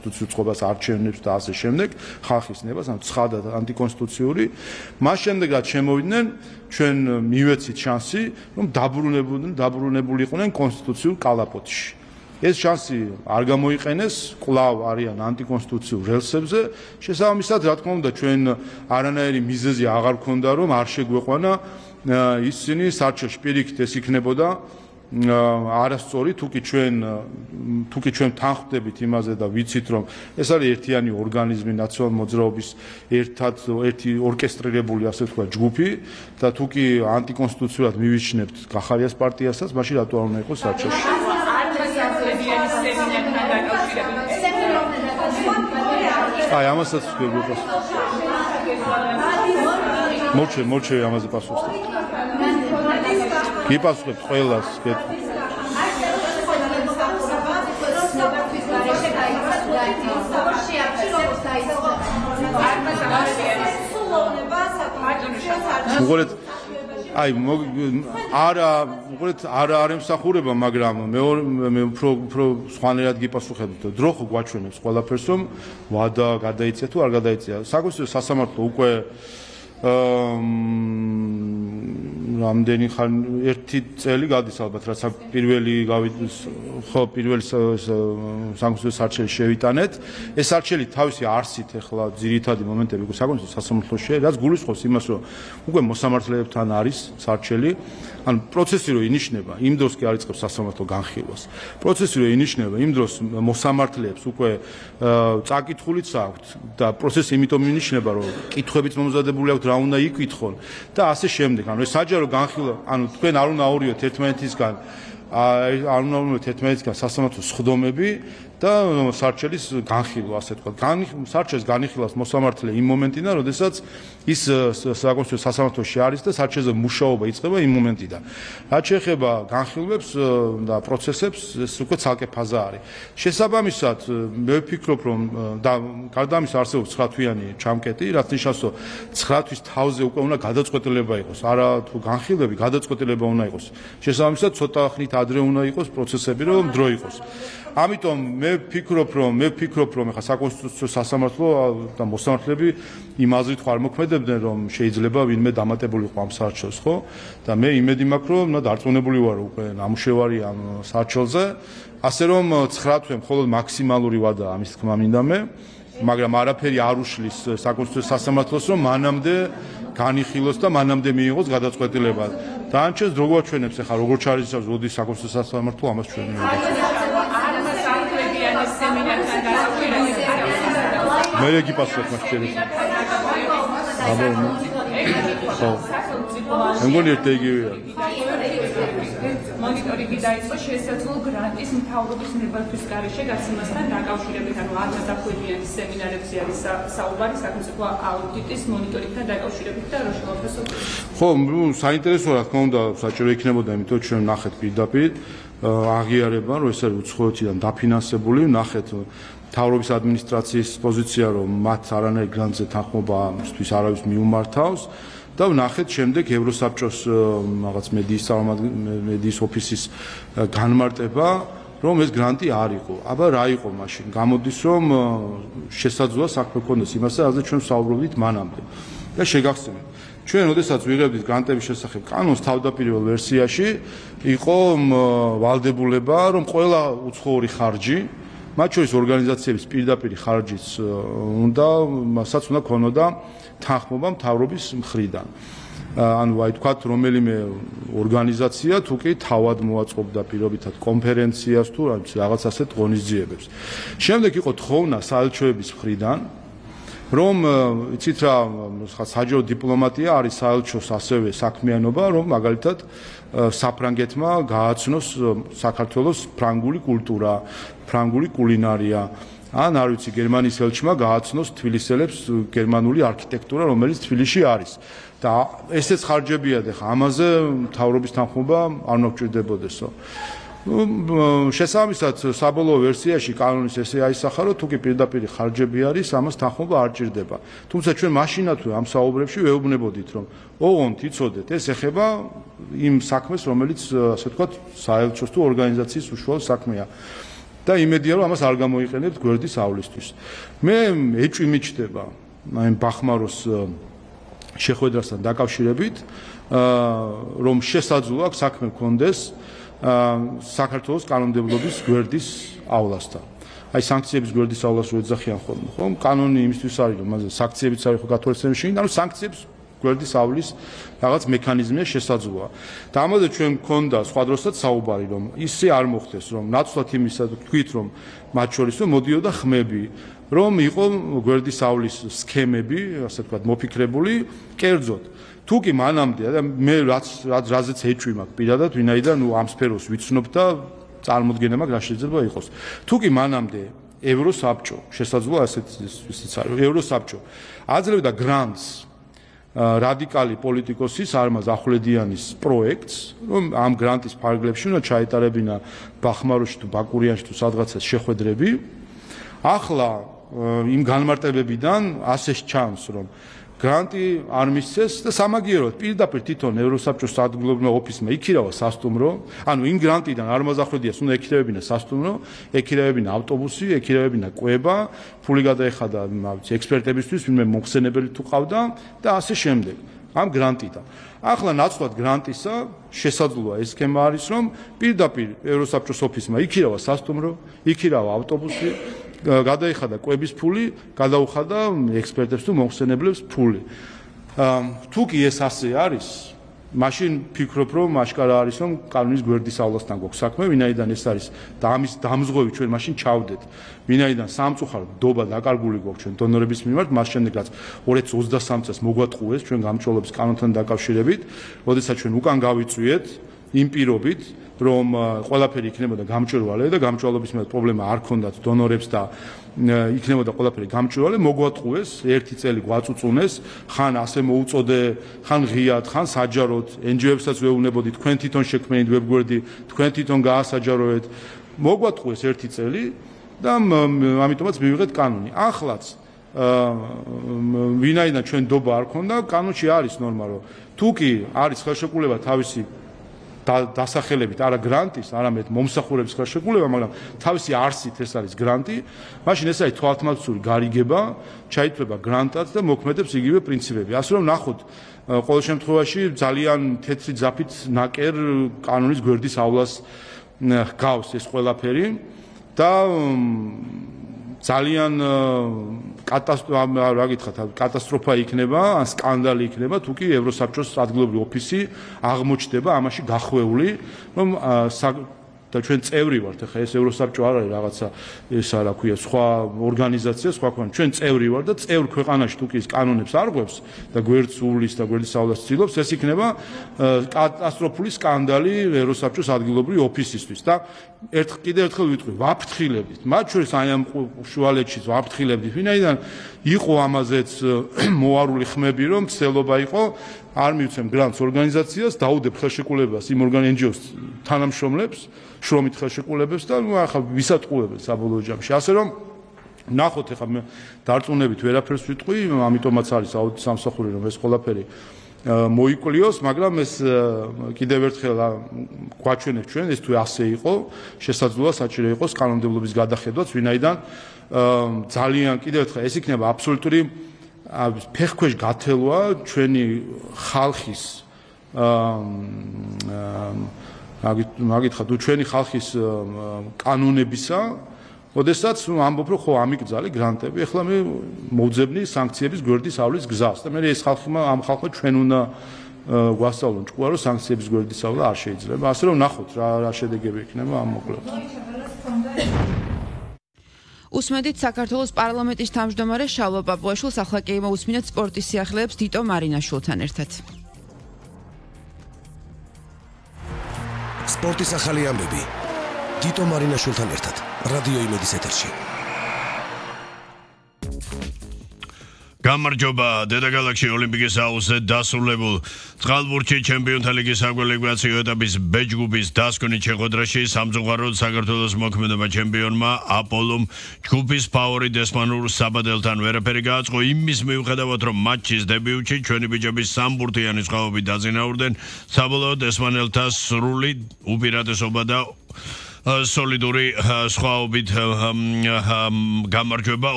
უწყობას არჩევნებს და ასე შემდეგ, ხალხის ნებას, ანუ ცხადად ანტიკონსტიტუციური. მას შემდეგ რაც შემოვიდნენ, ჩვენ მივეცით შანსი, რომ დაბრუნებულიყვნენ კონსტიტუციურ კალაპოტში. ეს შანსი არ გამოიყენეს, კვლავ არიან ანტიკონსტიტუციურ რელსებზე. შესაბამისად, რა თქმა უნდა, ჩვენ არანაირი მიზეზი აღარ გქონდა, რომ არ შეგვეყვანა ისინი საარჩევნებში პირიქით ეს იქნებოდა არასწორი, თუკი ჩვენ თანხმდებით იმაზე და ვიცით, რომ ეს არის ერთიანი ორგანიზმი, ნაციონალური მოძრაობის ერთი ორკესტრირებული, ასე ვთქვა, ჯგუფი და თუკი ანტიკონსტიტუციურად მივიჩნევთ გახარიას პარტიასაც, მაშინ რატო არ უნდა იყოს საარჩევნოში? აი, ამასაც ვგებობს. მორჩე ამაზე პასუხს. გიპასუხებთ ყველას, აი, არა ემსახურება, მაგრამ მე უფრო სხვანაირად გიპასუხებთ. დრო ხო გვაჩვენებს ყველაფერს, რომ ვადა გადაიწია თუ არ გადაიწია. საკონსტიტუციო სასამართლო უკვე რამდენი ერთი წელი გადის ალბათ, რაც პირველი საკონსტიტუციო საარჩევი შევიტანეთ. ეს არჩევი თავისი არსით ახლა ძირითადი მომენტები საკონსტიტუციო სასამართლოში, რაც გულისხმობს იმას, რომ უკვე მოსამართლეებთან არის საარჩევი. ანუ პროცესი რო ინიშნება, იმ დროს კი არ იწყებს სასამართლო განხილვას. პროცესი რო ინიშნება, იმ დროს მოსამართლეებს უკვე წაკითხულიც აქვთ და პროცესი იმიტომ ინიშნება, რომ კითხვებიც მომზადებული აქვთ, რა უნდა იკითხონ და ასე შემდეგ. ანუ ეს საჯარო განხილვა, ანუ თქვენ არ უნდა აურიოთ ერთმანეთისგან სასამართლოს სხდომები და საარჩევის განხილვა, ასე თქვა. საარჩევის განხილვას მოსამართლე იმ მომენტიდან, როდესაც ის საკონსტიტუციო სასამართლოში არის და საარჩევის მუშაობა იწყება იმ მომენტიდან. რაც შეეხება განხილვებს და პროცესებს, ეს უკვე ცალკე ფაზა არის. შესაბამისად, მე ვფიქრობ, რომ და გარდა ამისა არსებობს 9-თვიანი ჩამკეტი, რაც ნიშნავს, რომ 9 თვის თავზე უკვე უნდა გადაწყვეტილება იყოს. არა თუ განხილვები, გადაწყვეტილება უნდა იყოს. შესაბამისად, ცოტა ხნით ადრე უნდა იყოს პროცესები, რომ დრო იყოს. ამიტომ მე ვფიქრობ, რომ ახლა საკონსტიტუციო სასამართლო და მოსამართლეები იმ აზრით არ მოქმედებდნენ, რომ შეიძლება ვინმე დამატებულიყო ამ საარჩევს, ხო? და მე იმედი მაქვს, რომ დარწმუნებული ვარ უკვე ნამუშევარი ამ საარჩევლზე, ასე რომ 9 თვე მხოლოდ მაქსიმალური ვადაა ამის თქმა მინდა მე, მაგრამ არაფერი არ უშლის საკონსტიტუციო სასამართლოს, რომ მანამდე განიხილოს და მანამდე მიიღოს გადაწყვეტილება. დანარჩენს რო გვაჩვენებს ახლა როგორ ჩარიცხავს როდის საკონსტიტუციო სასამართლო ამას ჩვენ მე გიპასუხებ მას შეიძლება. ხო. მეგონი ერთ იგივეა. მონიტორინგი დაიწყო შესაძლო გრანტის მთავრობის ნებართვის გარეშე გაცემასთან დაკავშირებით, ანუ 1000-დან სემინარებზე არის საუბარი საკონსტიტუციო აუდიტის მონიტორინგთან დაკავშირებით და რო შემოხსოვს. ხო, საინტერესო რა თქმა უნდა საჭირო იქნებოდა, იმიტომ რომ ჩვენ ნახეთ პირდაპირ აღიარება, რომ ეს არის უცხოეთიდან დაფინანსებული, ნახეთ მთავრობის ადმინისტრაციის პოზიცია, რომ მათ არანაირ გრანტზე თანხმობისთვის არავის მიუმართავს და ვნახეთ შემდეგ ევროსაბჭოს რაღაც მედიის ოფისის განმარტება, რომ ეს გრანტი არ იყო. აბა რა იყო მაშინ? გამოდის, რომ შესაძლოა საქმე ქონდეს იმასე, რაზე ჩვენ ვსაუბრობდით მანამდე. და შეგახსენებთ, ჩვენ როდესაც ვიღებდით გრანტების შესახებ კანონს თავდაპირველ ვერსიაში იყო ვალდებულება, რომ ყველა უცხოური ხარჯი, მათ შორის ორგანიზაციების პირდაპირ ხარჯიც მასაც უნდა ქონოდა თანხმობა მთავრობის მხრიდან. ანუ აი თქვათ რომელიმე ორგანიზაცია თუ კი თავად მოაწყობდა პირობითად კონფერენციას თუ რაღაც ასეთ ღონისძიებებს. შემდეგ იყო თხოვნა საელჩოების მხრიდან, რომ იცით რა, საჯარო დიპლომატია არის საელჩოს ასევე საქმიანობა, რომ მაგალითად საფრანგეთმა გააცნოს საქართველოს ფრანგული კულტურა, ფრანგული კულინარია. ან არ ვიცი, გერმანიის ელჩმა გააცნოს თბილისელებს გერმანული არქიტექტურა, რომელიც თბილისში არის. და ესეც ხარჯებია და ამაზე მთავრობის თანხმობა არ უნდა გჭირდებოდესო. შესაბამისად, საბოლოო ვერსიაში კანონის ესე აისახა, რომ თუკი პირდაპირ ხარჯები არის, ამას თანხმობა არ ჭირდება. თუმცა ჩვენ მაშინათვე ამ საუბრებში ვეუბნებოდით, რომ ოღონდ იცოდეთ, ეს ეხება იმ საქმეს, რომელიც ასე ვთქვათ, საელჩოს თუ ორგანიზაციის უშუალო საქმეა. და იმედია რომ ამას არ გამოიყენებთ გვერდისავლისთვის. მე ეჭვი მიჩნდება აი ბახმაროს შეხვედრასთან დაკავშირებით, რომ შესაძლოა აქ საქმე მქონდეს საქართველოს კანონმდებლობის გვერდისავლასთან. აი სანქციების გვერდისავლას რო ეძახიან ხოლმე, ხო? კანონი იმისთვის არის, რომ მასზე სანქციებიც არის ხო გათვალისწინებაში, ანუ სანქციებს გვერდის ავლის რაღაც მექანიზმია შესაძლოა. და ამაზე ჩვენ მქონდა სხვა დროსაც საუბარი, რომ ისე არ მოხდეს, რომ ნაცვლად იმისა თქვით, რომ მათ შორის რომ მოდიოდა ხმები, რომ იყო გვერდის ავლის სქემები, ასე ვთქვათ, მოფიქრებული კერძოდ. თუ კი მანამდე და მე რაზეც ეჭვი მაქვს პირადად, ვინაიდან ამ სფეროს ვიცნობ და წარმოდგენა მაქვს რა შეიძლება იყოს. თუ კი მანამდე ევროსაბჭო, შესაძლოა ესეც არის, ევროსაბჭო აძლევდა გრანტს რადიკალი პოლიტიკოსის არმაზ ახვლედიანის პროექტს, რომ ამ გრანტის ფარგლებში უნდა ჩაეტარებინა ბახმაროში თუ ბაკურიანში თუ სადღაცას შეხვედრები. ახლა იმ განმარტებებიდან ასე ჩანს, რომ გრანტი არ მისცეს და სამაგიეროდ პირდაპირ თვითონ ევროსაბჭოს ადგილობრივ ოფისმა იქირავა სასტუმრო, ანუ იმ გრანტიდან არმაზ ახვლედიას უნდა ეკირევებინა სასტუმრო, ეკირევებინა ავტობუსი, ეკირევებინა კვება, ფული გადაეხადა ექსპერტებისთვის, ვინმე მოხსენებელი თუ ყავდა და ასე შემდეგ. ამ გრანტიდან. ახლა ნაცვლად გრანტისა შესაძლოა ეს სქემა არის, რომ პირდაპირ ევროსაბჭოს ოფისმა იქირავა სასტუმრო, იქირავა ავტობუსი, გადაიხადა კვების ფული, გადაუხადა ექსპერტებს თუ მოხსენებლებს ფული. თუ კი ეს ასე არის, მაშინ ფიქრობ, რომ აშკარა არის, რომ კანონის გვერდისავლასთან გვაქვს საქმე, ვინაიდან ეს არის და ამის დამზღვევი ჩვენ მაშინ ჩავდეთ. ვინაიდან სამწუხაროდ დობა დაკარგული გვაქვს ჩვენ დონორების მიმართ, მას შემდეგ რაც 2023 წელს მოგვატყუეს ჩვენ გამჭოლობის კანონთან დაკავშირებით, როდესაც ჩვენ უკან გავიწვიეთ იმ პირობით, რომ ყველაფერი იქნებოდა გამჭვირვალე და გამჭვირვალობის მიმართ პრობლემა არ ქონდათ დონორებს და იქნებოდა ყველაფერი გამჭვირვალე, მოგვატყუეს, ერთი წელი გვაწუწუნეს, ხან ასე მოუწოდე, ხან ღიად, ხან საჯაროდ, NGO-ებსაც ვეუბნებოდი, თქვენ თვითონ შექმნით ვებგვერდი, თქვენ თვითონ გაასაჯაროეთ, მოგვატყუეს ერთი წელი და ამიტომაც მივიღეთ კანონი. ახლაც ვინაიდან ჩვენ დობა არ ქონდა, კანონში არის ნორმა, რომ თუ კი არის ხელშეკრულება თავისი დასახელებით არა გრანტის, არამედ მომსახურების ხელშეკრულება, მაგრამ თავისი არსით ეს არის გრანტი, მაშინ ეს არის თვალთმაცული გარიგება, ჩაითვლება გრანტად და მოქმედებს იგივე პრინციპები. ასე რომ ნახოთ, ყოველ შემთხვევაში ძალიან თეთრი ძაფით ნაკერ კანონის გვერდისავლას გავს ეს ყველაფერი და ძალიან კატასტროფა იქნება, ან სკანდალი იქნება, თუ კი ევროსაბჭოს ადგილობრივი ოფისი აღმოჩნდება ამაში გახვეული, რომ და ჩვენ წევრი ვართ, ახლა ეს ევროსაბჭო არ არის რაღაცა ესა რა ქვია, სხვა ორგანიზაცია, სხვა ქვეყანა. ჩვენ წევრი ვართ და წევრ ქვეყანაში თუ კი ის კანონებს არ ღვევს და გვერდს უვლის და გვერდისავლას ცდილობს, ეს იქნება კატასტროფული სკანდალი ევროსაბჭოს ადგილობრივი ოფისისთვის და კიდევ ერთხელ ვიტყვი, ვაფრთხილებით, მათ შორის აი ამ შუალედშიც ვაფრთხილებით, ვინაიდან იყო ამაზეც მოარული ხმები, რომ ცდილობა იყო არ მივცემ გრანტს ორგანიზაციას, დაუდებ ხელშეკრულებას იმ NGO-ს თანამშრომლებს, შრომით ხელშეკრულებებს და ახლა ვისატყუებენ საბოლოო ჯამში. ასე რომ ნახოთ, ახლა მე დარწმუნებით ვერაფერს ვიტყვი, ამიტომაც არის აუდიტ სამსახური, რომ ეს ყველაფერი მოიკვლიოს, მაგრამ ეს კიდევ ერთხელ გვაჩვენებს ჩვენ, ეს თუ ასე იყო, შესაძლოა საჭირო იყოს კანონმდებლობის გადახედვაც, ვინაიდან ძალიან კიდევ ერთხელ ეს იქნება აბსოლუტური ფეხქვეშ გათელვა ჩვენი ხალხის მაგითხა თუ ჩვენი ხალხის კანონებისა, ოდესაც ამბობ რომ ხო ამიკრძალე გრანტები, ახლა მე მოვძებნი სანქციების გვერდის ავლის გზას და მე ეს ამ ხალხმა ჩვენ უნდა გვასწავლონ ჭკუა რომ სანქციების გვერდის ავლა არ შეიძლება. ასე რომ ნახოთ რა შედეგები იქნება ამ მოკლედ. უსმენთ საქართველოს პარლამენტის თავმჯდომარე შალვა პაპუაშვილს, ახლა კი მოусმინეთ სპორტის სიახლეებს დიტო მარინაშვილთან ერთად. სპორტის ახალი ამბები დიტო მარინაშვილთან ერთად რადიო იმედის ეთერში. გამარჯობა, დედაგალაქსი ოლიმპიკის აუზზე დასრულებულ წყალბურთში ჩემპიონთა ლიგის საკვალიფიკაციო ეტაპის B ჯგუფის დასკვნით შეხვედრაში სამწუხაროდ საქართველოს მოქმედება ჩემპიონმა აპოლომ ჯგუფის ფავორიტ ესპანურ საბადელთან ვერაფერი გააწყო იმის მიუხედავად რომ მატჩის დებიუტში ჩვენი ბიჭები სამბურთიანი სხვაობით დაზინაურდნენ საბოლოოდ ესპანელთა სრული უპირატესობა და სოლიდური სხვაობით გამარჯვება